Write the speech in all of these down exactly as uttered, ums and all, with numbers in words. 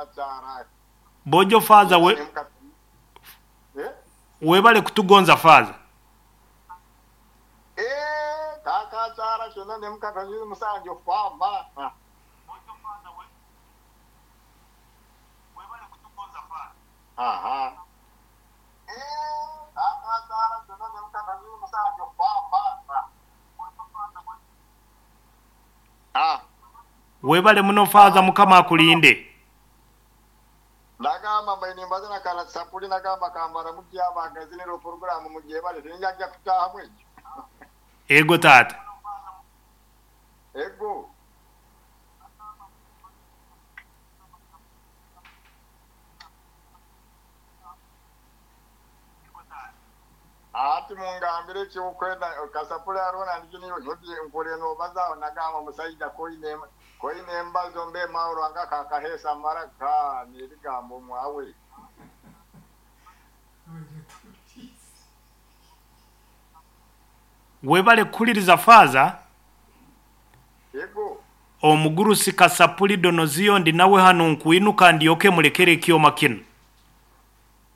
Kaakakyara. Bojo faaza we Eh? webale kutugonza faaza. Eh, kaakakyara kyonna ne mukatanyuzi musanju faama. Aha. Eh, kaakakyara kyonna ne mukatanyuzi musanju faama. Ah. Webale muno faaza, Mukama akulinde. Nagamba mbaine mbaze nakala sapuli, nagamba kambara mukyabagaziniro poroguramu mugyebale tinjajja kutaahamu ekyo. Ego taata. Ego. Ati mungambire ekyokwenda kasapuli arona ndikiniyo nyoti nkore nobazaho, nagamba musaija koine koine embazo mbe mauro anga kakahesa maraka n'ebigambo mwawe. Webale kukuliriza faaza. Ego. Omugurusi Kasapuli Donoziyo ndi nawe hano nkwinuka ndyoke mulekere ekyoma kino.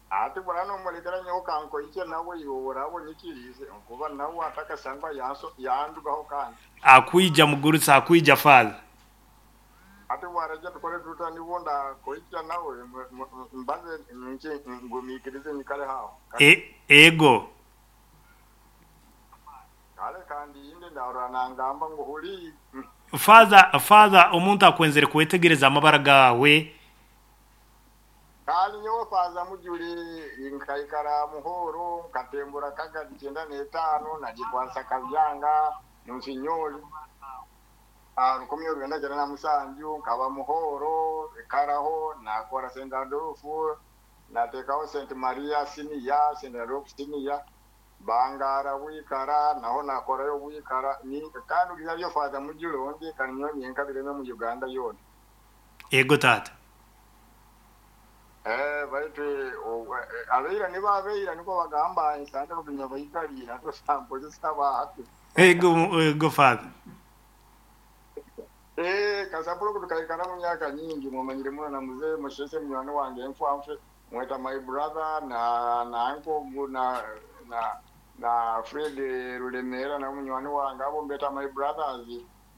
Ati burano mulekera nyoka nkoike nawe iwe nyikirize nkuba nawe atakasangwa yanso yandugaho kandi. Akwija mugurusi, akwija faaza. Ati waraja tukore tuta nibonda koicha nawe mbaze nki ngumikirize nyikale hawo. E, ego. Kale kandi inde ndahura nangamba ngo huri. Faaza, faaza, omuntu akwenzere kwetegereza amabara gawe. Kandi nyowe faaza Mujuli nkaikara Muhoro nkatembura kaga icyenda n'etaano nagikwasa Kabyanga Nsinyoli rukumi orwenda kyenda na musanju, nkaba Muhoro ekaraho nakora Saint Adolphe nateekaho Saint Maria Senior, Saint Adolphe Senior Bangara wikara naho nakorayo wikara ni kandi ugizayo faaza Mujuli onde kandi nyowe nyenkabireme mu Uganda yona. Ego taata. Eh, baitu abeira nibo abeira niko bagamba nsanga kunya bayikalira tosambo zisaba hati. Ego, ego faaza. Eh, kasapuro kutukaikana mu myaka nyingi mumanyire muno na muzee mushese munywani wange enfamfe mweta my brother na na uncle na na na Fred Rulemera na munywani wange abo mbeta my brothers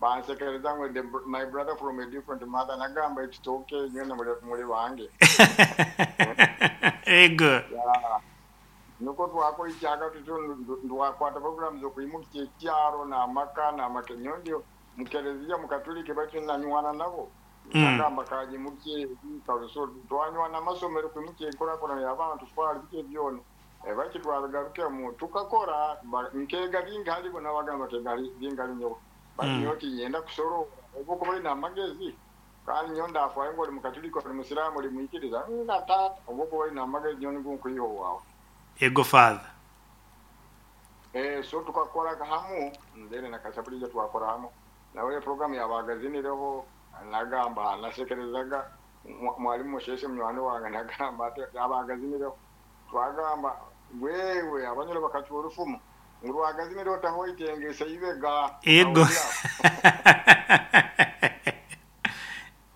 bansekereza ngo the, my brother from a different mother, nagamba it's okay nyene muri muri wange. Ego. Yeah. Nuko twakora icyaga tutu ndwakwata program zo kwimuka ekyaro n'amaka n'amaka nyondi mukereziya mukatulike bakinanywana nabo. Mm. Nagamba kaje mukye karuso twanywana amasomero kwimuka enkorakora y'abantu twali bike byona baki twabagaruke mu tukakora nkega bingi halibo n'abagamba kega bingi ali nyowe Mm. bati nyenda kusorora obuko bali n'amagezi kandi nyo ndafwaye ngo oli mukatulika oli musiraamu oli mwikiriza nga taata obuko bali n'amagezi nyo nigwo nkwiho waawe. Ego faaza. Eh, so tukakora hamu ndere na kasapulija twakora hamu nawe program yabagazinireho nagamba nasekerezaga mwalimu musheshe munywani wange nagamba ati abagazinireho twagamba wewe abanyoro bakacwa orufumu ngu rwagazinireho tahoitengese ibega. Ego.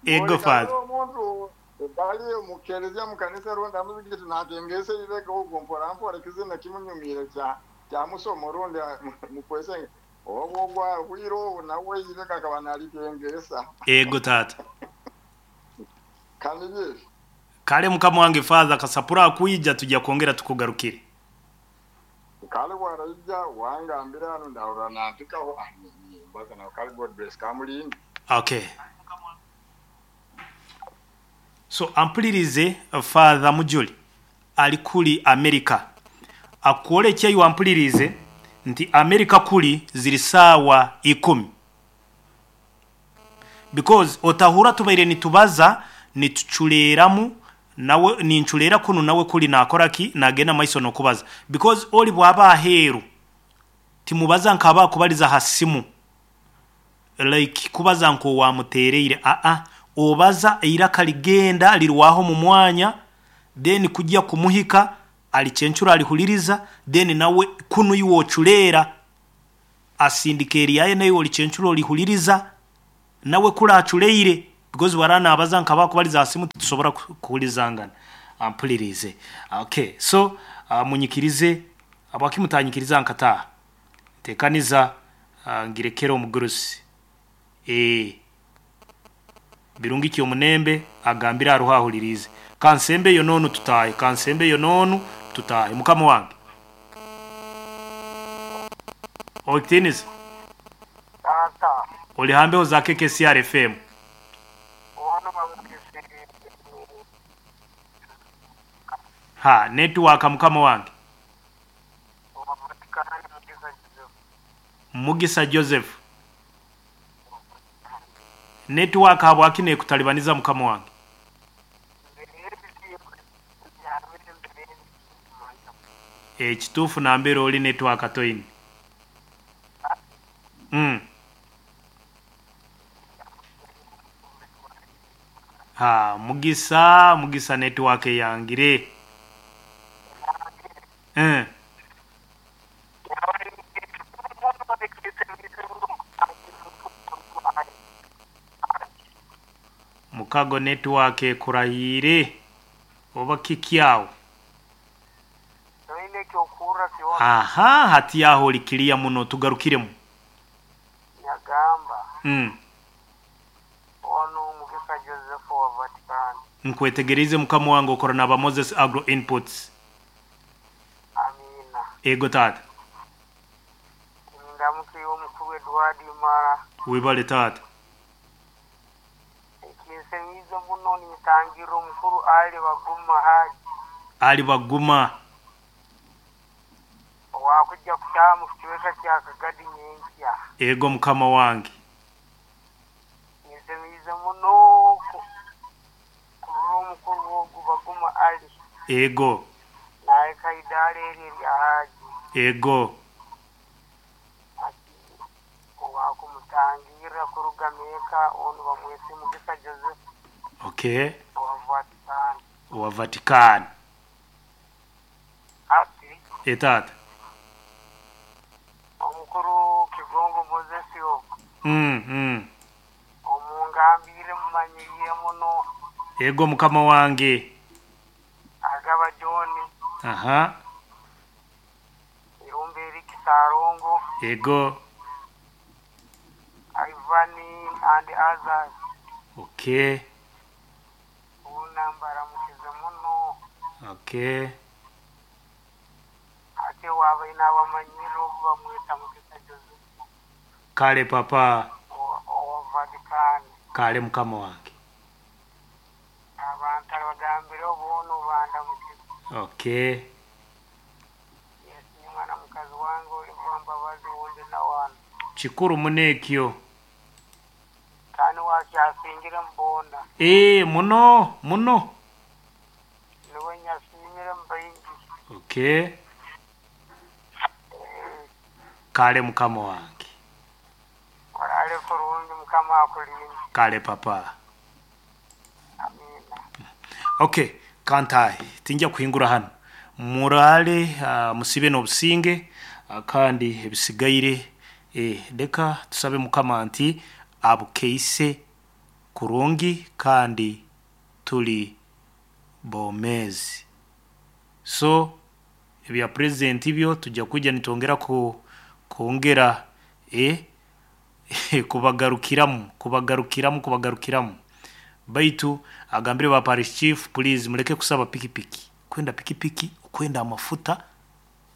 Ego faaza. Omuntu bali mukerezia mukanisa ronda muzigiti natengese ibega ogwo mpora mpora kizina kimunyumire kya kya musomo rundi mukwese obwo gwa bwiro nawe ibega akaba nalitengesa. Ego taata. Kandi ye Kale mukama wange faaza Kasapura akwija tujya kwongera tukugarukire. Kale waraija wangambira hano ndahura nantikaho mbaza nawe kale God bless kamulindi. Okay. So ampulirize Father Mujuli ali kuli America. Akwolekye iwe ampulirize nti America kuli ziri saawa ikumi. Because otahura tubaire nitubaza nituchuleramu nawe ninchulera kuno nawe kuli nakora ki nagenda maiso nokubaza. Because oli bwaba aheru timubaza nkaba kubaliza hasimu like kubaza nko wamutereire a a obaza eiraka ligenda lirwaho mu mwanya then kujya kumuhika alichenchura alihuliriza then nawe kuno iwochulera asindikeri yaye nayo olichenchura olihuliriza nawe kula achuleire. Because warana abaza nkaba kubaliza simu tusobora ku- kuwulizangana. Ampulirize. Okay, so uh, munyikirize abakimutanyikiriza nkataha. Tekaniza uh, ngirekera omugurusi. Eh birungi ki omunembe agambira aruhahulirize. Kansembe yonoonu tutahe, kansembe yonoonu tutahe mukama wange. Oktiniza Tata, olihambeho za K K C R F M. ono bamugise Ha, network mukama wange. Vatikani Mugisa Joseph. Mugisa Joseph. Network habwaki nekutalibaniza mukama wange? Ekituufu nambere oli network toyini. Mm. Ha, Mugisa, Mugisa network yangire. Eh. Mukago network ekurahire oba kikyawo. Toine kyokura kyona. Aha, hati yaho likilia muno tugarukiremu. Nyagamba Mm. ono Mugisa Joseph wa Vatican. Nkwetegereze mukama wange okora naba Moses Agro Inputs. Amina. Ego tata. Ndamukiye omukuru Edward Mara. Wibale tata. Ekinsemizo muno nitangira omukuru Ali Baguma Haji. Ali Baguma. Wakujja kutaha mu kichweka kya Kagadi nyenkya. Ego mukama wange. Ninsemize muno kurora omukuru ogu Baguma Ali. Ego. Naye kaidara eri erya Haji. Ego. Ati owakumutangira kuruga Meka onu bamwese Mugisa Joseph. Okay. Owa Vatican. Owa Vatican. Ati Etata. omukuru Kigongo Moses ogu. Mm, mm. Omungambire mumanyiriye muno. Ego mukama wange. Agaba John. Aha. Irumbe Eric Sarongo. Ego. Ivani and others. Okay. Unambara mukize muno. Okay. Ate waba inabamanyire ogu bamweta Mugisa Joseph. Kale papa. Owa Vatican. Kale mukama wange. Abantu abagambire obuno banda mukize. Okay. Yes, ni mwana mukazi wange oli Mbabazi wundi na wana. Kikuru munekyo. Kandi wakyasingira mbona. Eh, muno, muno. Niwe nyasimire mbaingi. Okay. Kale mukama wange. Orale kurungi mukama akulinde. Kale papa. Amina. Okay, kantai tinja kuhingura hano. Murale uh, musibe n'obusinge uh, kandi ebisigaire eh leka tusabe mukama nti abukeise kurungi kandi tuli bomezi. So ebya president byo tujja kujja nitongera ku kuongera eh kubagarukiramu kubagarukiramu kubagarukiramu. Baitu agambire ba parish chief please muleke kusaba pikipiki. Kwenda pikipiki kwenda amafuta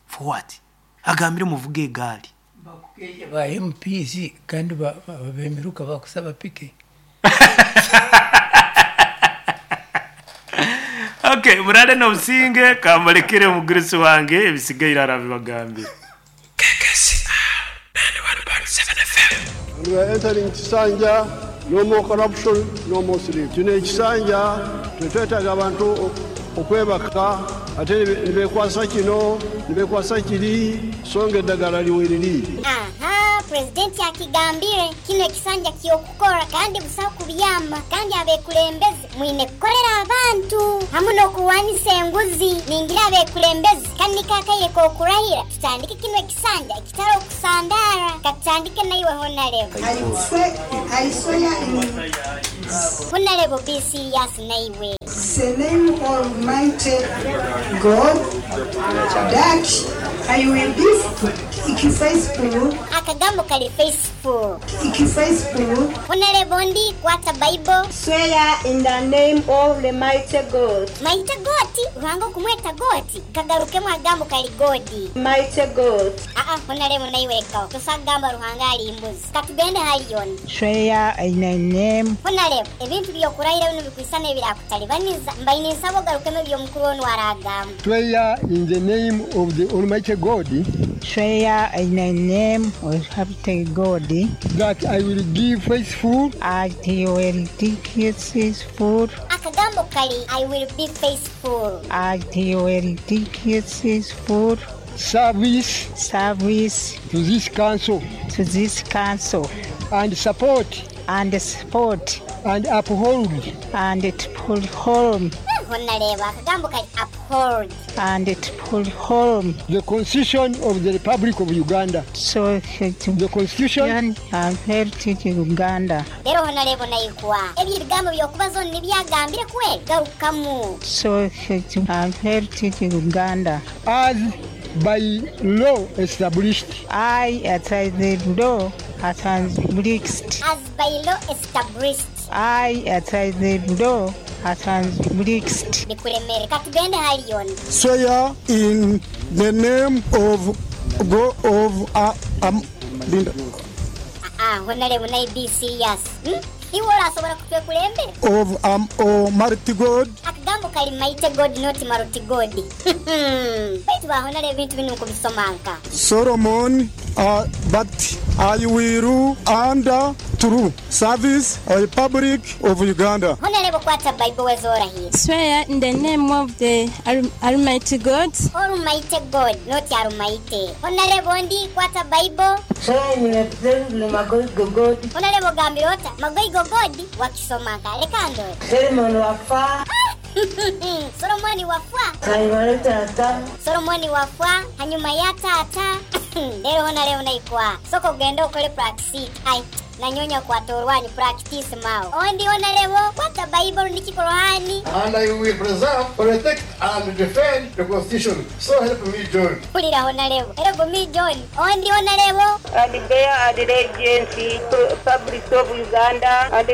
for what? Agambire muvuge egali. Bakukeje ba M Ps kandi ba bemiruka bakusaba piki. Okay, murale no businge kambalekere mugirisi wange ebisigaira arabibagambire. K K C R ninety-one point seven F M. And we are entering Kisanja, no more corruption, no more sleep. Kino ekisanja tetwetaaga abantu okwebaka ate ne beekwasa kino ne beekwasa kiri so nga eddagala liweriri. Aha, presidenti akigambire kino ekisanja ky'okukora kandi busaho kubyama kandi abekulembeze mwine kukorera abantu hamu n'okuwanisa enguzi. Ningira abekulembeze kandi kakaire k'okurahira tutandike kino ekisanja ekitari okusandara katutandike naiwe honarebo. I swear, I swear in Honorable be serious naiwe. The name Almighty God, that I will be faithful, Akagambo kali faithful. faithful, Honorable ndi kwata Bible. Swear in the name of the mighty God, Maite goti ruhanga okumweta goti kagarukemu agambo kali godi. mighty God. Aa honorable naiwekawo tosagamba ruhanga ali mbuzi katugende haliyoni. Swear in the name Honorable ebintu byokurahira bino bikwisana ebirakutalibaniza mbaine nsaba ogarukemu ebyomukuru onu aragamba. Swear in the name of the Almighty God swear in the name of Almighty God that I will give faithful I will faithful Akagambo kali I will be faithful. I will faithful service service to this council to this council and support and support and uphold and uphold Honorable akagambo kali uphold. and uphold the Constitution of the Republic of Uganda. so The Constitution and heritage Uganda Rero honorable naikuwa ebyo ebigambo byokubaza onu nibyagambire kweli garukamu. so and heritage Uganda as by law established. I at the law at established As by law established. I at the law established Bikuremere katugende haliyoni. Swear in the name of God of uh, um, Linda, Aa honorable nayi be serious. Hmm? Iwe orasobola kutwekulembera. of um, Almighty God Akagambo kali mighty God not maruti God. Baitu ba honorable ebintu bino nkubisomanka. Solomon, uh, but I will under true service a Republic of Uganda. Honorable kwata Bible wezorahira. Swear in the name of the Al- Almighty God, Almighty God not Almighty. Honorable ndi kwata Bible. swear in the Magoigo God, Honorable gambira ota magoigo God wakisomanka leka ndore. Solomon Wafa, Solomoni wafwa. Hanyuma Tata, Solomoni wafwa hanyuma ya tata. Lero honorable naikwa. Soko genda okole practice. Ai nanyonya kwata orwanyu practice mao. Ondi honorable kwata Bible ndiki Korani. And I will preserve, protect, and defend the Constitution. So help me, John. Pulira honorable. Era gumi John. Ondi honorable. and bear allegiance to Republic of Uganda, and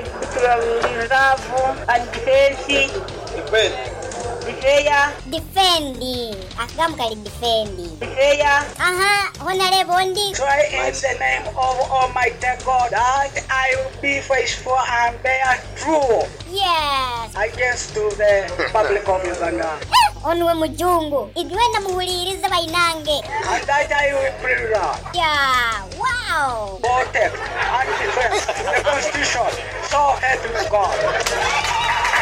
love and defense, Defend. defend, Defend. Akagambo kali defend. defend. Aha, honorable ndi. Swear in the name of Almighty God that I will be faithful and bear true Yes. against to the Republic of Uganda, Onuwe mujungu. Idwenda muhulirize bainange. and that I will preserve, Yeah, wow. protect, and defend the Constitution. So help me God.